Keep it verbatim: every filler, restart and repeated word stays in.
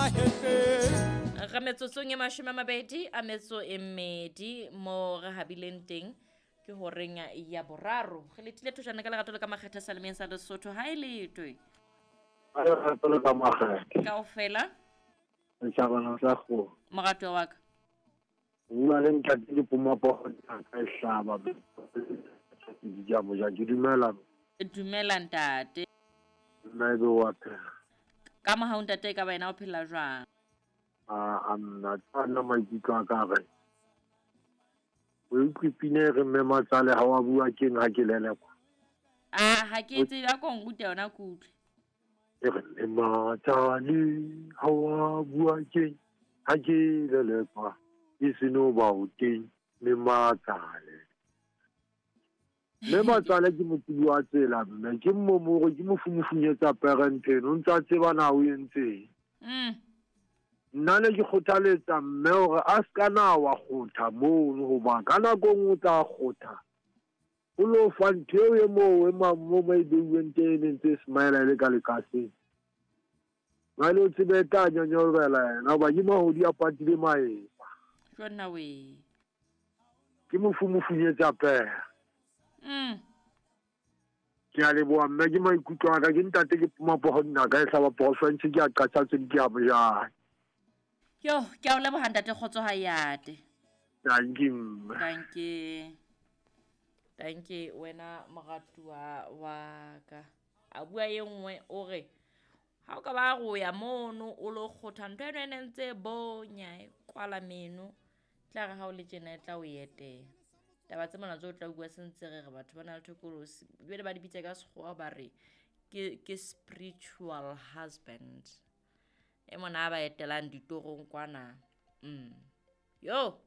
mahetleng. Re metsotsong e mashome a mabedi a metso e mmedi mo re habileng teng ke horeng ya boraro. Re letile thojana ka lerato le ka makgetha salemeng sa Lesotho. Ha e letwe. A lerato le ka makgetha. Kaofela. Setjhabana sa kgomo. Moratuwa wa ka. Bua le ntate ke poma poho ka e hlaba. Ke a moja, ke dumela. Dumela ntate. Nna ebe wa phela. Ka mohau ntate e ka ba yena o phela jwang? A a nna nna maikutlo a ka re. O utlwe pina e re mme matsale ha wa bua keng ha ke lelekwa? A ha ke tsebe a ko nrute yona ke utlwe. E re mme matsale ha wa bua keng ha ke lelekwa e seno ba o teng mme matsale. Mme matsale ke motsebi wa tsela mme ke mmomoro ke mofumufunyetsa parenteng o ntsa tseba na o entseng. Mm. Nna ne ke kgothaletsa mme hore a ska na wa kgotha mono hoba ka nako e nngwe o tla kgotha. O lo fa ntho eo e moo e ma mo mo e beuweng teng e ne ntse e smile e le ka lekaseng. Jwale o tsebe e tla nyonyobela yena hoba ke mahodi a patile maeba. Jonna we. Ke mofumufunyetsa pere. Mm. Ke a leboha mme ke maikutlo a ka ke ntate ke poma poho nna ka e hlaba porofense ke a qatsa tse di ke a mojane. Yo, ke a o leboha ntate kgotso ha yate. Thank you mme. Thank you. Thank you wena moratuwa wa ka. A bua e nngwe o re ha o ka ba go ya mono o lo kgotha ntho eno e ne ntse bonya e kwala meno tla re ha o le tjena e tla o etela. Taba tse mona tse o tla bua sentse re re batho ba na le thokolosi jwale ba di bitsa ka sekgowa ba re ke ke spiritual husband. E mona ba etelang ditorong kwana. Mm. Yo.